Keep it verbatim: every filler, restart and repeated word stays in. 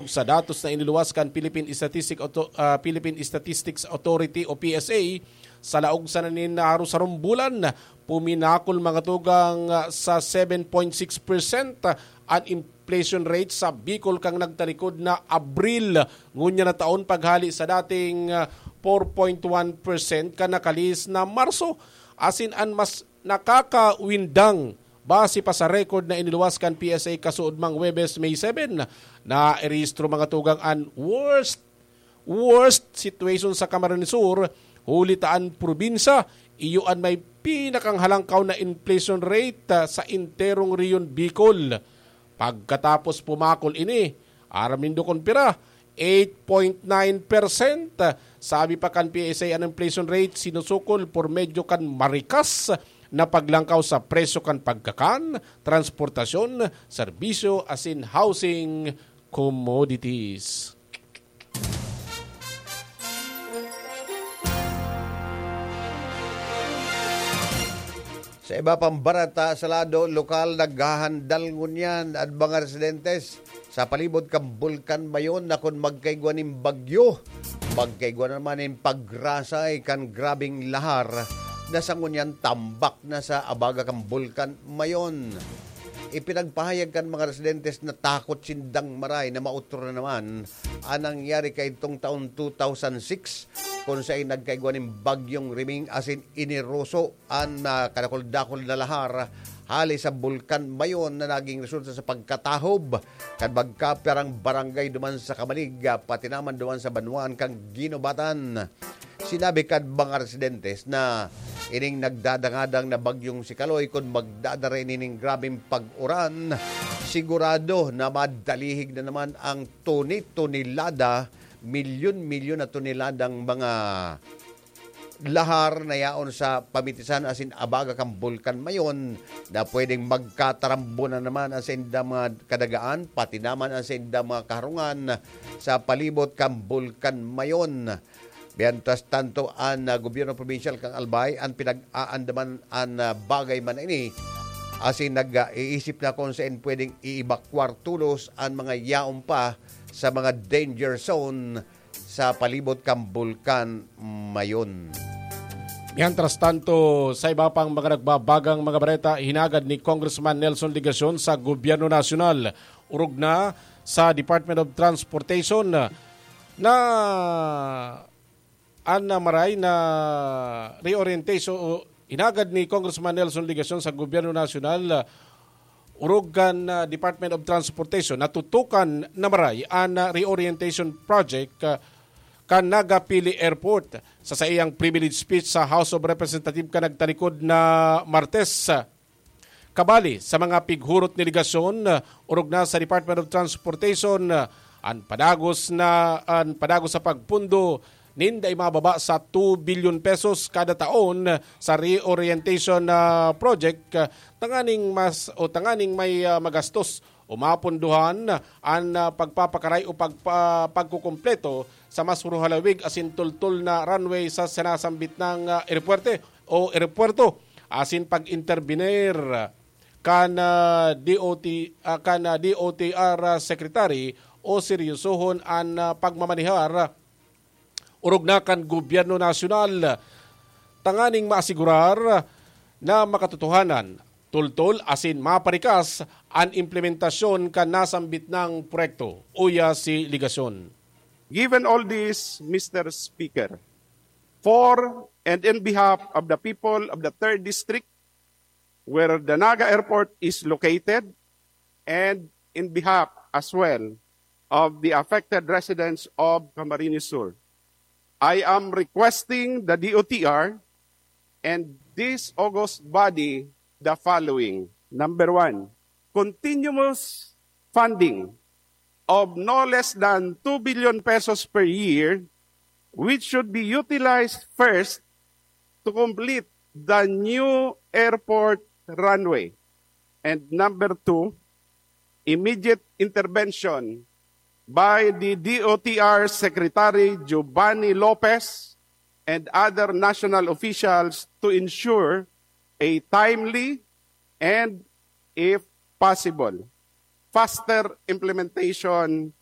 Sa datos na iniluwas kan Philippine Statistic Auto-, ah, Philippine Statistics Authority o P S A, sa laog sana nin harong-harong bulan, puminakol mga tugang, ah, sa seven point six percent, ah, an inflation rate sa Bicol kan nagtalikod na Abril ngunyan na taon, paghali sa dating, ah, four point one percent kan nakalihis na Marso. Asin an mas nakakawindang, base pa sa record na iniluwas kan P S A kasuodmang Huwebes, May seven, nairehistro mga tugang an worst, worst situation sa Camarines Sur, huli ta an probinsya iyo an may pinakanghalangkaw na inflation rate, ah, sa enterong Rehiyon Bicol. Pagkatapos pumakol ini, aram nindo kun pira, eight point nine percent. Sabi pa kan P S A, an inflation rate sinusukol por medyo kan marikas na paglangkaw sa presyo kan pagkakan, transportasyon, serbisyo asin housing commodities. Sa iba pang bareta, sa lado lokal, naghahandal ngunyan an mga residentes sa palibot kan Bulkan Mayon na kun magkaigwa nin bagyo, magkaigwa na naman nin pagrasay kan grabeng lahar na sa ngunyan tambak na sa abaga kan Bulkan Mayon. Ipinagpahayag kan mga residentes na takot sindang maray na maotro na naman an nangyari kaidtong taon two thousand six, kun saen nagkaigwa nin Bagyong Riming asin iniroso an, ah, kadakul-dakul na lahar hali sa Bulkan Mayon na naging resulta sa pagkatahob kan magkapirang barangay duman sa Camalig, ah, pati naman duman sa banwaan kan Guinobatan. Sinabi kan mga residentes na ining nagdadangadang na bagyong si Kaloy, kun magdadara ini nin grabeng pag-uran, sigurado na madalihig na naman ang toni-tonelada, milyon-milyon na toneladang mga lahar na yaon sa pamitisan asin abaga kan Bulkan Mayon na pwedeng magkatarambo na naman ang saindang mga kadagaan, pati naman ang saindang mga kaharungan sa palibot kan Bulkan Mayon. Mientras tanto, an, ah, gobyerno probinsyal kan Albay an pinag-aandaman an, ah, bagay man na ini, asin nag-iisip na kung saen pwedeng i-evacuar tolos an mga yaon pa sa mga danger zone sa palibot kan Bulkan Mayon. Mientras tanto, sa iba pang mga nagbabagang mga bareta, hinagad ni Congressman Nelson Legacion sa Gobyerno Nasyonal, orog na sa Department of Transportation, na an, ah, maray na reorientation o hinagad ni Congressman Nelson Legacion sa Gobyerno Nasyonal, ah, orog kan, ah, Department of Transportation, natutukan na maray an, ah, reorientation project, ah, kan Naga Pili Airport. Sa saiyang privilege speech sa House of Representatives kan nagtalikod na Martes, ah, kabali sa mga pighurot ni Legacion, ah, orog na sa Department of Transportation, ah, an padagos na, an padagos sa pagpundo nin dai mababa sa two billion pesos kada taon sa reorientation, ah, project, ah, tanganing mas, o tanganing may, ah, magastos o mapondohan an, ah, pagpapakaray o pagpa-, pagkukumpleto sa mas mahalawig asin tultol na runway sa sinasambit nang, ah, eropuwerte o eropuwerto, asin pag-intervenir kan, ah, D O T, ah, kan, ah, D O T R Secretary o seryosohon an, ah, pagmamanehar orog na kan Gobyerno Nasyonal, tanganing maasigurar na makatotohanan, tultol asin maparikas an implementasyon kan nasambit nang proyekto, uya si Legacion. Given all this, Mister Speaker, for and in behalf of the people of the third District, where the Naga Airport is located, and in behalf as well of the affected residents of Camarines Sur, I am requesting the D O T R and this august body the following. Number one, continuous funding of no less than two billion pesos per year, which should be utilized first to complete the new airport runway. And number two, immediate intervention by the D O T R Secretary Giovanni Lopez and other national officials to ensure a timely and, if possible, faster implementation